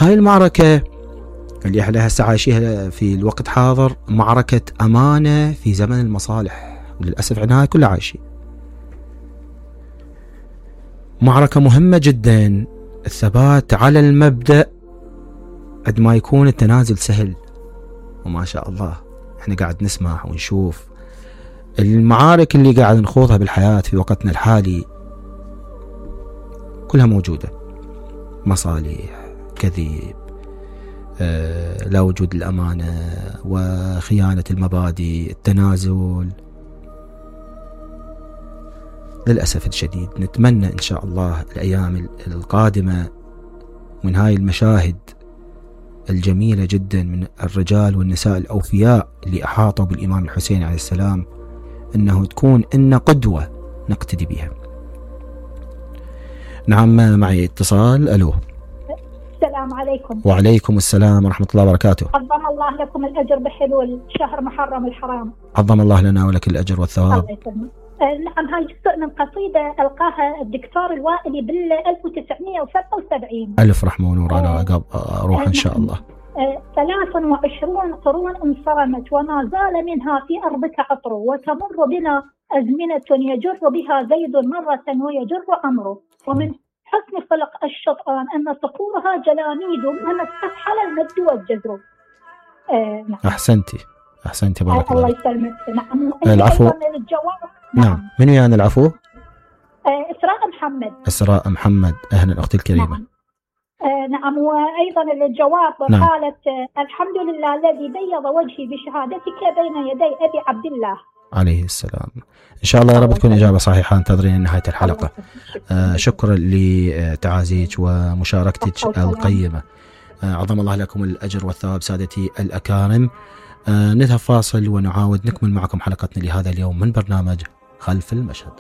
هاي المعركة اللي احنا هسه عايشيها في الوقت حاضر معركة أمانة في زمن المصالح، وللأسف احنا هاي كلها عايشين. معركة مهمة جدا، الثبات على المبدأ قد ما يكون التنازل سهل. وما شاء الله احنا قاعد نسمع ونشوف المعارك اللي قاعد نخوضها بالحياة في وقتنا الحالي كلها موجودة، مصالح، كذب، لا وجود الأمانة وخيانة المبادئ، التنازل. للأسف الشديد نتمنى إن شاء الله الأيام القادمة من هاي المشاهد الجميلة جدا من الرجال والنساء الأوفياء اللي أحاطوا بالإمام الحسين عليه السلام أنه تكون إن قدوة نقتدي بها. نعم معي اتصال. ألو. السلام عليكم. وعليكم السلام ورحمة الله وبركاته. عظم الله لكم الأجر بحلول شهر محرم الحرام. عظم الله لنا ولك الأجر والثواب. الله يسلمك. نعم، هاي جزء من قصيدة ألقاها الدكتور الوائلي بال 1977. ألف رحمة ونور على روح إن شاء الله. 23 قرون انصرمت وما زال منها في أرضك عطر، وتمر بنا أزمنة يجر بها زيد مرة ويجر أمره، ومن حسن خلق الشطآن أن صقورها جلاميد أمست حل المد والجزر. نعم. أحسنتي بارك الله. الله يسلمك. نعم. العفو. نعم. من ويانا العفو؟ إسراء محمد. إسراء محمد، أهلا أختي الكريمة. نعم. وأيضا الجواب. نعم. قالت الحمد لله الذي بيض وجهي بشهادتك بين يدي أبي عبد الله عليه السلام. إن شاء الله يا رب تكون إجابة صحيحة. انتظرين نهاية الحلقة. شكرا لتعازيك ومشاركتك القيمة. عظم الله لكم الأجر والثواب سادتي الأكارم. نذهب فاصل ونعاود نكمل معكم حلقتنا لهذا اليوم من برنامج خلف المشهد.